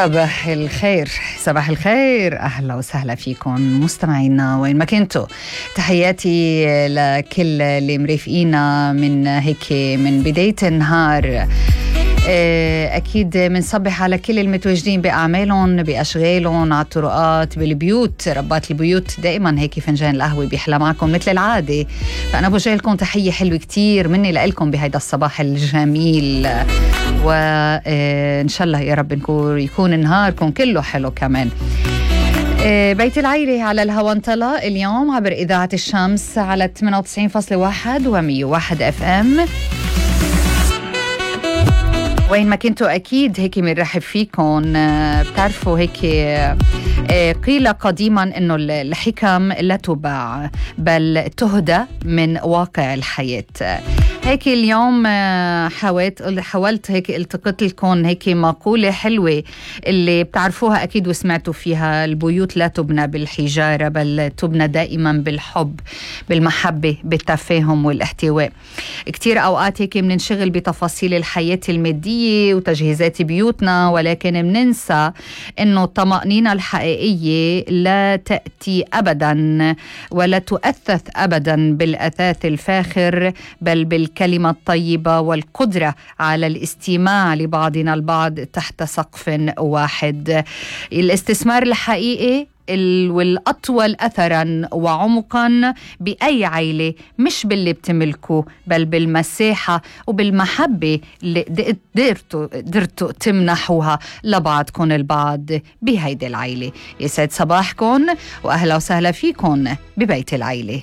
صباح الخير، صباح الخير، أهلا وسهلا فيكم مستمعينا وين ما كنتوا. تحياتي لكل اللي مرافقينا من هيك من بداية النهار. أكيد منصبح على كل المتواجدين بأعمالهم بأشغالهم على الطرقات بالبيوت. ربات البيوت دائما هيك فنجان القهوة بيحلى معكم مثل العادة، فأنا بوجه لكم تحية حلوة كتير مني لإلكم بهيدا الصباح الجميل، وإن شاء الله يا رب يكون نهاركم كله حلو كمان. بيت العيلة على الهوا انطلق اليوم عبر إذاعة الشمس على 98.1 و101 FM. وين ما كنتوا أكيد هيك منرحب فيكم. بتعرفوا هيك قيل قديما إنه الحكم لا تباع بل تهدى من واقع الحياة. هيك اليوم حاولت هيك التقط لكم هيك مقولة حلوة اللي بتعرفوها أكيد وسمعتوا فيها: البيوت لا تبنى بالحجارة بل تبنى دائما بالحب، بالمحبة، بالتفاهم والاحتواء. كتير أوقات هيك مننشغل بتفاصيل الحياة المادية وتجهيزات بيوتنا، ولكن مننسى إنه الطمأنينة الحقيقية لا تأتي أبدا ولا تؤثث أبدا بالأثاث الفاخر، بل بالكلمة الطيبة والقدرة على الاستماع لبعضنا البعض تحت سقف واحد. الاستثمار الحقيقي والأطول أثراً وعمقاً بأي عائلة مش باللي بتملكه بل بالمساحة وبالمحبة اللي قدرتوا تمنحوها لبعضكم البعض بهيدي العائلة. يسعد صباحكم وأهلا وسهلا فيكم ببيت العائلة.